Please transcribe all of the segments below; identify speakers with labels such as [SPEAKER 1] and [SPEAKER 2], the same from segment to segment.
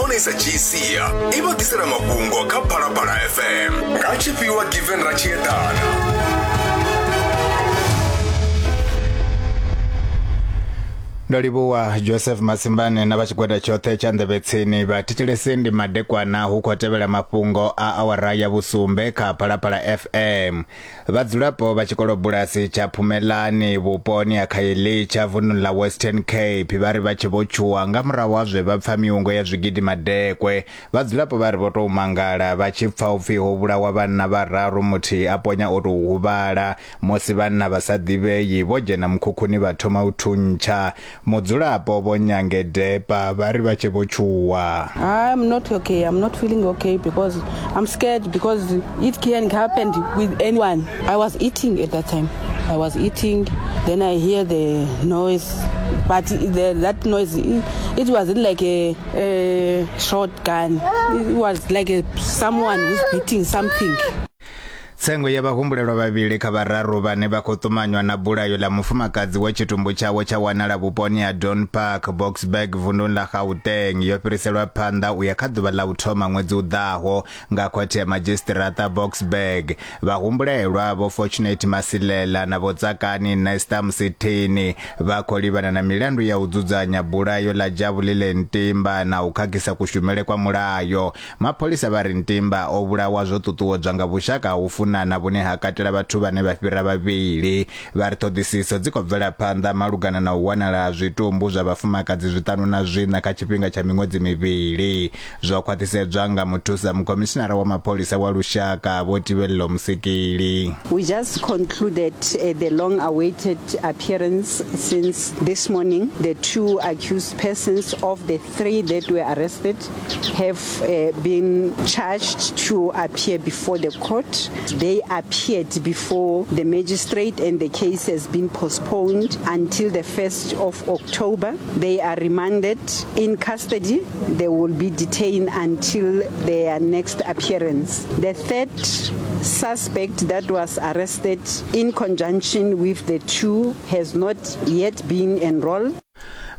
[SPEAKER 1] nahone i sa dzhii sia i vha ḓisela mafhungo kha Phalaphala FM nga tshifhiwa Given Ratshiedana.
[SPEAKER 2] Ndo livhuwa Joseph Masimbane na vha tshigwada tshoṱhe tsha nḓevhe tsini. Vha thetshelesi ndi madekwana hu khou tevhela mafhungo a awara ya vhusumbe kha Phalaphala FM. Vhadzulapo vha tshikolobulasi tsha Phumelani vhuponi ha Khayelitsha vunḓuni ḽa Western Cape vha ri vha tshi vho tshuwa nga murahu ha zwe vha pfa miungo ya zwigidi madekwe. Vhadzulapo vha ri vho tou mangala vha tshi pfa upfi ho vhulawa vhanna vhararu muthihi a ponya o tou huvhala musi vhanna vha sa ḓivhei vho dzhena mukhukhuni vha thoma u thuntsha. Mudzulapo Vho Nyange Depa vha ri vha tshe vho tshuwa.
[SPEAKER 3] I'm not okay. I'm not feeling okay because I'm scared because it can happen with anyone. I was eating at that time. I was eating, then I hear the noise, but that noise, it wasn't like a shotgun. It was like someone who's beating something.
[SPEAKER 2] Tsengo ya vhahumbulelwa vhavhili kha vhararu vhane vha khou ṱumanywa na bulayo ḽa mufumakadzi we tshitumbu tshawe tsha wanala vhuponi ha Don Park, Boksburg vunduni ḽa Gauteng yo fhiriselwa phanḓa u ya kha ḓuvha ḽa u thoma ṅwedzi u ḓaho nga khothe ya madzhisiṱiraṱa Boksburg. Vhahumbulelwa Vho Fortunate Masilela na Vho Tsakani Nesta Msithini vha khou livhana na milandu ya u dzudzanya bulayo ḽa Jabulile Ntimba na u khakhisa kushumele kwa mulayo. Mapholisa vha ri Ntimba o vhulawa zwo ṱuṱuwedzwa nga vhushaka ha u funana vhune ha katela vhathu vhane vha fhira vhavhili. Vha ri ṱhoḓisiso dzi khou bvela phanḓa malugana na u wanala ha zwitumbu zwa vhafumakadzi zwiṱanu na zwiṋa kha tshifhinga tsha miṅwedzi mivhili. Zwo khwaṱhisedzwa nga muthusa mukhomishinara wa mapholisa wa lushaka Vho Tibello Musikili.
[SPEAKER 4] We just concluded the long awaited appearance since this morning. The two accused persons of the three that were arrested have been charged to appear before the court. They appeared before the magistrate and the case has been postponed until the 1st of October. They are remanded in custody. They will be detained until their next appearance. The third suspect that was arrested in conjunction with the two has not yet been enrolled.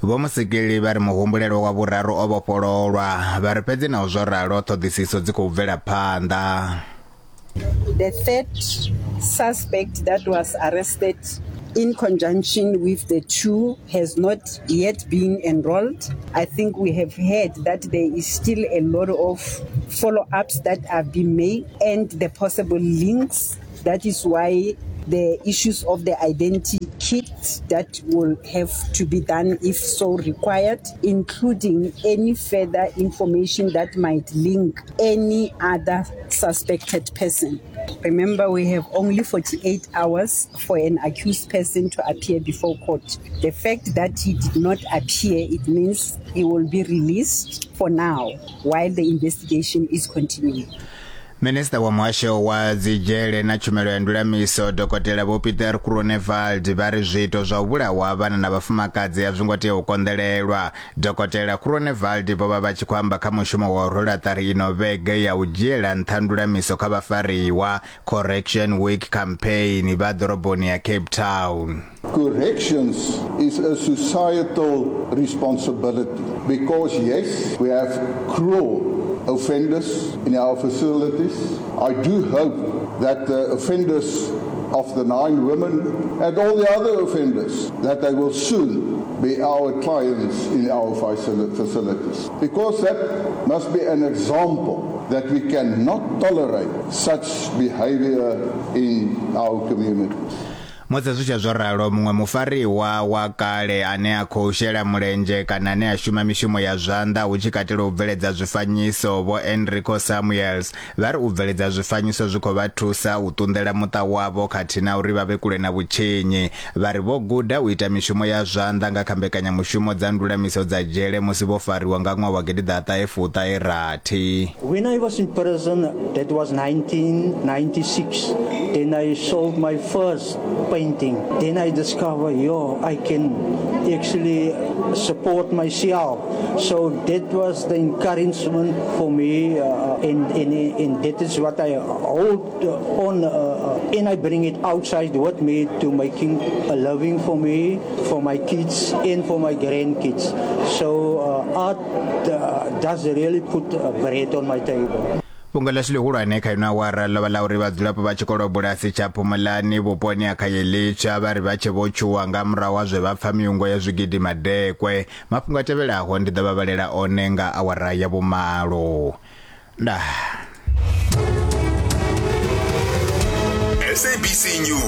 [SPEAKER 2] Vho Musikili vha ri muhumbulelwa wa vhuraru o vhofhololwa, vha ri fhedzi naho zwo ralo ṱhoḓisiso dzi khou bvela phanḓa.
[SPEAKER 4] The third suspect that was arrested in conjunction with the two has not yet been enrolled. I think we have heard that there is still a lot of follow-ups that have been made and the possible links. That is why the issues of the identity kit that will have to be done if so required, including any further information that might link any other suspected person. Remember, we have only 48 hours for an accused person to appear before court. The fact that he did not appear, it means he will be released for now while the investigation is continuing.
[SPEAKER 2] Minisiṱa wa Muhasho wa Dzidzhele na Tshumelo ya Ndulamiso, Dokotela Vho Pieter Groenewald vha ri zwiito zwa u vhulawa ha vhana na vhafumakadzi a zwi ngo tea u konḓelelwa. Dokotela Groenewald vho vha vha tshi khou amba kha mushumo wa u rwela ṱari ino vhege ya u dzhiela nṱha ndulamiso kha vhafariwa, Correction Week Campaign, vha ḓoroboni ya Cape Town.
[SPEAKER 5] Corrections is a societal responsibility because, yes, we have cruel offenders in our facilities. I do hope that the offenders of the 9 women and all the other offenders, that they will soon be our clients in our facilities. Because that must be an example that we cannot tolerate such behavior in our communities.
[SPEAKER 2] Musi zwi tshe zwo ralo, muṅwe mufariwa wa kale ane a khou shela mulenzhe kana ane a shuma mishumo ya zwanḓa hu tshi katela u bveledza zwifanyiso, Vho Enrico Samuels, vha ri u bveledza zwifanyiso zwi khou vha thusa u ṱunḓela muṱa wavho khathihi na uri vha vhe kule na vhutshinyi. Vha ri vho guda u ita mishumo ya zwanḓa nga kha mbekanyamushumo dza ndulamiso dza dzhele musi vho fariwa nga ṅwaha wa gidiḓaṱahe fuṱahe rathi.
[SPEAKER 6] When I was in prison, that was 1996, then I sold my first painting. Then I discovered, yo, I can actually support myself. So that was the encouragement for me, and, and, and that is what I hold on, and I bring it outside with me to making a living for me, for my kids, and for my grandkids. So art does really put bread on my table.
[SPEAKER 2] Fhungo ḽashu ḽihulwane kha ino awara ḽo vha ḽa uri vhadzulapo vha tshikolobulasi tsha Phumulani vhuponi ha Khayelitsha vha ri vha tshe vho tshuwa nga murahu ha zwe vha pfa miungo ya zwigidi madekwe. Mafhungo a tevhelaho ndi ḓo vha vhalela one nga awara ya vhumalo. Ndaa.
[SPEAKER 1] SABC News.